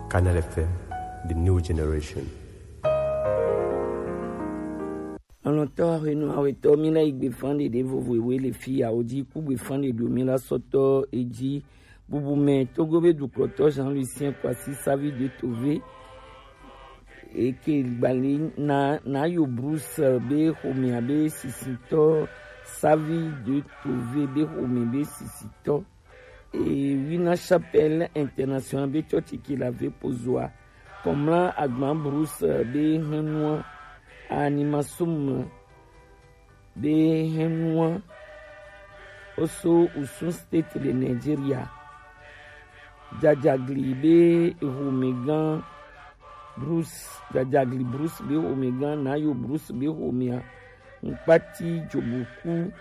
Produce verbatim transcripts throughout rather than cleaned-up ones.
Canal F M, the new generation. Alɔntɔ ahwenu awetɔ, mi na yi gbe fan ɖeɖe vovo ewe le fi ya wo ji ku gbe fan ɖeɖe mi la sɔtɔ eji bubu mɛ Togo be dukɔtɔ Jean Lucien Kwasi Savi de Tove eke gbali na na yo Bruce be xomea be sisitɔ Savi de Tove be xome be sisitɔ. E, Wina Chapelle International be tsɔtsi ke la ve pozoa. Kɔmla Agban Bruce be hɛnua Animasum be hɛnua oso Osun State le Nigeria. Jajagli be homegã Bruce, Jajagli Bruce be homegã, Nayo Bruce be homea, Nkpati Joboku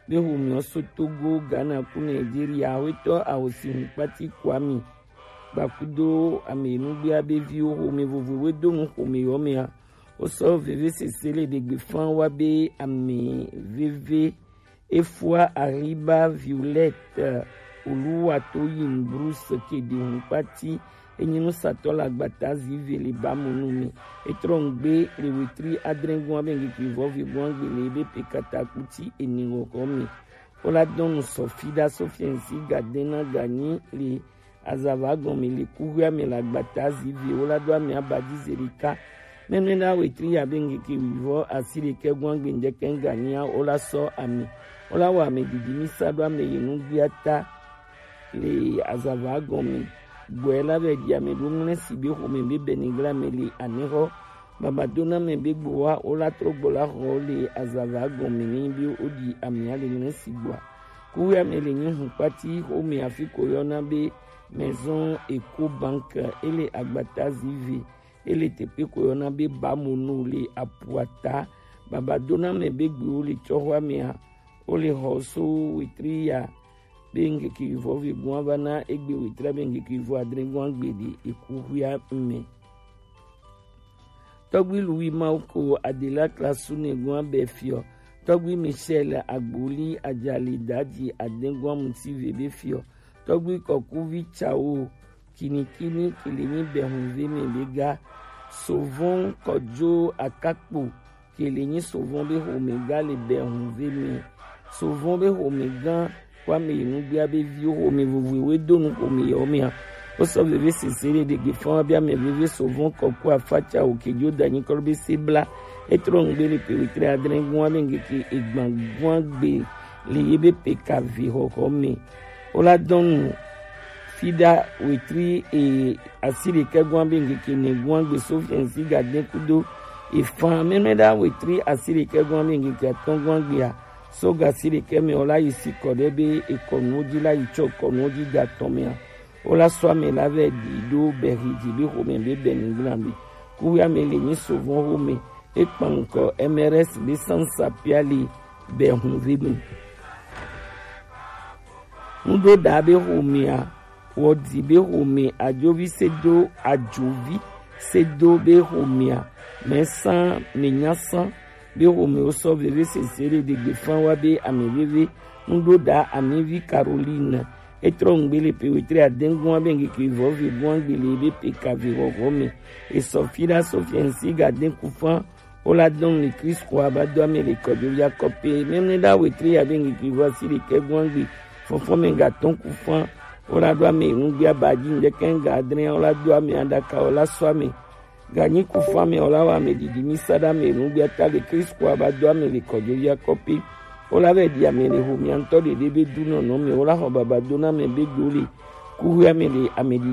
be homea so Togo, Ghana ku Nigeria. Awetɔ awosi Nkpati Kwame Gbakudo ame nugbea be viwo xome vovovoe do nu xome yɔ mea. Wosɔ veve sese le ɖegbe fan wa be ame veve Efua Arriba Violette Oluwatoyin Bruce Kedi Hunkpati enyi nusatɔ le agbata zive le bamonu me. Etrɔ ngbe le wetri adrɛngun abe ngekivɔ vigun agbe le ebe pe katakuti eni wɔkɔ me. Wola dɔnu sɔfi da sofiɛnsi gadena ganyi le azava gɔme le kuhia me le agbata zivi wola do ame abadi zerika. Mɛmɛ la wetri ya be ngeke wivɔ asi ɖekɛ gun agbe ŋdɛkɛ ŋgania wola sɔ ame. Wola wɔ ame didi mi sa do ame ye nugbia ta le azava gɔme. Gbɔɛ la vɛ di ame do ŋlɛ si be xome be bɛnigla me le anexɔ. Baba dona mɛ be gbowa wola trɔ gbɔ la xɔ le azava gɔme ni be wodi amea le ŋlɛ si gbɔa. Kuwia me le nyi hun kpati xome afi ko yɔna be Maison Eco Bank ele agbata zive ele teƒe ko yɔna be Bamonu le apuata. Baba dona mɛ be gbewo le tsɔxɔa mea wole xɔ so wetri ya be ŋkeke vɔ ve gɔn va na egbe wetri be ŋkeke vɔ adre gɔn agbe de eku huia me. Tɔgbi Louis Mauko Adela Klasu Negoa be fiɔ. Tɔgbi Michel Agboli Ajali Dadi Adegoa Mutive be fiɔ. Tɔgbi Kɔkuvi Tsawo Kinikini Kilinyi Bɛhunve me be ga. Sovɔn Kɔdzo Akakpo Kilinyi Sovɔn be xome ga le Bɛhunve me. Sovɔn be xome gã Kwame Enugbia be viwo xome vovoe do nu xome yawo mea. Wosɔ veve sese ɖe ɖegbe fã wa be ame veve Sovɔn Kɔku Afatsa Okejo Danyi Kɔlɔ be se bla. Etrɔ ŋgbe le pe wetri adre gɔn abe ŋkeke egban gɔn agbe le ye be pe ka ve xɔxɔ me. Wola dɔn nu fida wetri e asi ɖekɛ gɔn abe ŋkeke ne gɔn agbe so fiɛnsi gadɛ kudo efã mɛmɛ ɖa wetri asi ɖekɛ gɔn abe ŋkeke atɔn gɔn agbea. So gasi ɖekɛ mɛ wola yi si kɔ ɖe be ekɔnuwo dzi la yi tsɔ kɔnuwo dzi da tɔn mɛa. Wola sɔ ame la vɛ ɖi ɖo bɛxi dzi be xome be bɛ nugblã be. Kuxi ame le nyi Sovɔn xome. Ekpan ŋkɔ M R S be sansa pia le bɛ hun ve me. Nuɖoɖa be xomea, wɔdi be xome, ajovi sedo, ajovi sedo be xomea, mɛsan, mɛnyasan be xome wosɔ veve sese ɖe ɖegbe fã wa be ame veve, nuɖoɖa amivi Caroline, etrɔ ŋgbe le pe wetri adɛngɔn abe ŋkeke vɔ ve gɔn agbe le be pe ka ve xɔxɔ me, esɔ fi ɖa sɔ fiɛnsi gadɛn ku fã, Wola dɔn le Kristo aba do ame le kɔjo ya kɔpe. Mɛmɛ ɖa wetri ya be ŋkeke vɔ asi ɖekɛ gɔn agbe. Fɔfɔ mɛ ga tɔn ku fã. Wola do ame nugbe aba dzi ŋdɛkɛ ga adre. Wola do ame aɖaka. Wola sɔ ame. Ganyi ku fã mɛ wola wa ame didi mi sa ɖa ame nugbe ata le Kristo aba do ame le kɔjo ya kɔpe. Wola vɛ ɖi ame le xomea ŋtɔ ɖeɖe be du nɔnɔ me. Wola xɔ baba do na ame be do le. Kuxi ame le ame didi